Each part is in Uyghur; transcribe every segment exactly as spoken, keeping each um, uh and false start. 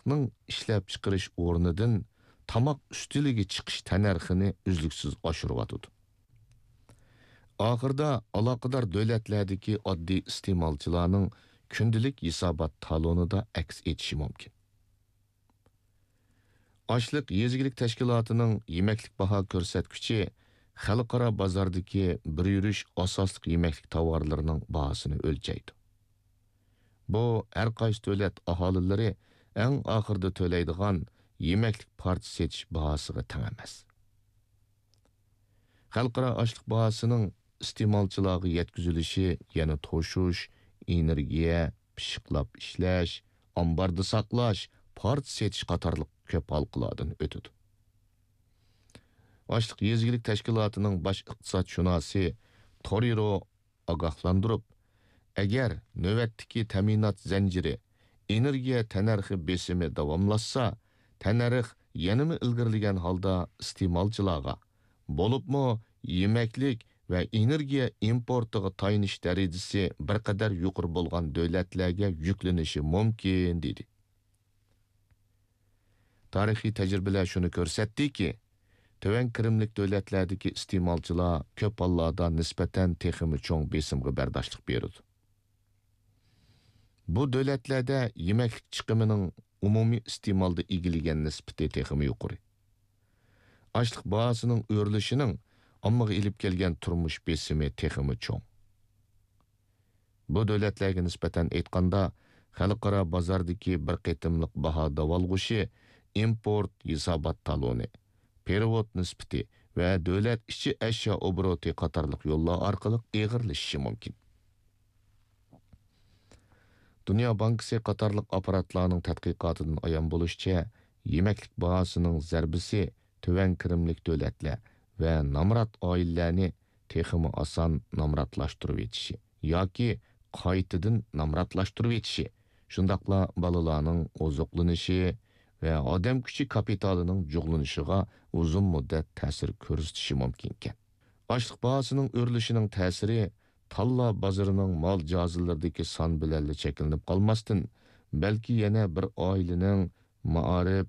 تاماقنىڭ ئىشلەپچىقىرىش ئورنىدىن تاماق ئۈستىلىگە چىقىش تەننەرخىنى ئۈزلۈكسىز ئاشۇرۇۋاتىدۇ. ئاخىرىدا ئالاقىدار دۆلەتلەردىكى ئاددىي ئىستېمالچىلارنىڭ كۈندىلىك ھېسابات تالونىدا ئەكس ئېتىشى مۇمكىن. ئاشلىق يېزا ئىگىلىك تەشكىلاتىنىڭ يېمەكلىك باھا كۆرسەتكۈچى خەلقئارا بازاردىكى بىر يۈرۈش ئاساسلىق يېمەكلىك تاۋارلىرىنىڭ باھاسىنى ئۆلچەيدۇ. بۇ ھەر قايسى دۆلەت ئاھالىلىرى ئەڭ ئاخىرىدا تۆلەيدىغان يېمەكلىك پارچە سېتىش باھاسىغا تەڭ ئەمەس. خەلقئارا ئاشلىق باھاسىنىڭ ئىستېمالچىلارغا يەتكۈزۈلۈشى يەنە توشۇش، ئېنېرگىيە، پىششىقلاپ ئىشلەش، ئامباردا ساقلاش، پارچە سېتىش قاتارلىق كۆپ ھالقىلاردىن ئۆتىدۇ. ئاشلىق يېزا ئىگىلىك تەشكىلاتىنىڭ باش ئىقتىسادشۇناسى تورىرو ئاگاھلاندۇرۇپ، ئەگەر نۆۋەتتىكى تەمىنات زەنجىرى، ئېنېرگىيە تەننەرخى بېسىمى داۋاملاشسا، تەننەرخ يەنىمۇ ئىلگىرىلىگەن ھالدا ئىستېمالچىلارغا، بولۇپمۇ يېمەكلىك ۋە ئېنېرگىيە ئىمپورتىغا تايىنىش دەرىجىسى بىر قەدەر يۇقىرى بولغان دۆلەتلەرگە يۈكلىنىشى مۇمكىن، دېدى. تارىخىي تەجرىبىلەر شۇنى كۆرسەتتىكى، تۆۋەن كىرىملىك دۆلەتلەردىكى ئىستېمالچىلار كۆپ ھاللاردا نىسبەتەن تېخىمۇ چوڭ بېسىمغا بەرداشلىق بېرىدۇ. بۇ دۆلەتلەردە يېمەكلىك چىقىمىنىڭ ئومۇمىي ئىستېمالدا ئىگىلىگەن نىسبىتى تېخىمۇ يۇقىرى. ئاشلىق باھاسىنىڭ ئۆرلىشىنىڭ ئاممىغا ئېلىپ كەلگەن تۇرمۇش بېسىمى تېخىمۇ چوڭ. بۇ دۆلەتلەرگە نىسبەتەن ئېيتقاندا، خەلقئارا بازاردىكى بىر قېتىملىق باھا داۋالغۇشى ئىمپورت ھېسابات تالونى، پېرېۋوت نىسبىتى ۋە دۆلەت ئىچى ئەشيا ئوبوروتى قاتارلىق يوللار ئارقىلىق ئېغىرلىشىشى مۇمكىن. دۇنيا بانكىسى قاتارلىق ئاپپاراتلارنىڭ تەتقىقاتىدىن ئايان بولۇشىچە، يېمەكلىك باھاسىنىڭ زەربىسى تۆۋەن كىرىملىك دۆلەتلەر ۋە نامرات ئائىلىلەرنى تېخىمۇ ئاسان نامراتلاشتۇرۇۋېتىشى ياكى قايتىدىن نامراتلاشتۇرۇۋېتىشى، شۇنداقلا بالىلارنىڭ ئوزۇقلىنىشى ۋە ئادەم كۈچى كاپىتالىنىڭ جۇغلىنىشىغا ئۇزۇن مۇددەت تەسىر كۆرسىتىشى مۇمكىنكەن. ئاشلىق باھاسىنىڭ ئۆرلىشىنىڭ تەسىرى تاللا بازىرىنىڭ مال جازىلىرىدىكى سان بىلەنلا چەكلىنىپ قالماستىن، بەلكى يەنە بىر ئائىلىنىڭ مائارىپ،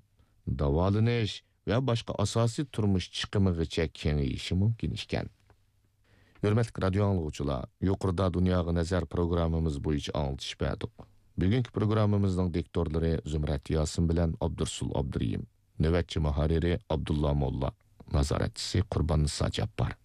داۋالىنىش ۋە باشقا ئاساسىي تۇرمۇش چىقىمىغىچە كېڭىيىشى مۇمكىن ئىكەن. ھۆرمەتلىك رادىيو ئاڭلىغۇچىلار، يۇقىرىدا دۇنياغا نەزەر پروگراممىمىز بويىچە ئاڭلىتىش بەردۇق. بۈگۈنكى پروگراممىمىزنىڭ دىكتورلىرى زۇمرەت ياسىن بىلەن ئابدۇرسۇل ئابدۇرېھىم، نۆۋەتچى مۇھەررىرى ئابدۇللا موللا، نازارەتچىسى قۇرباننىسا جاپپار.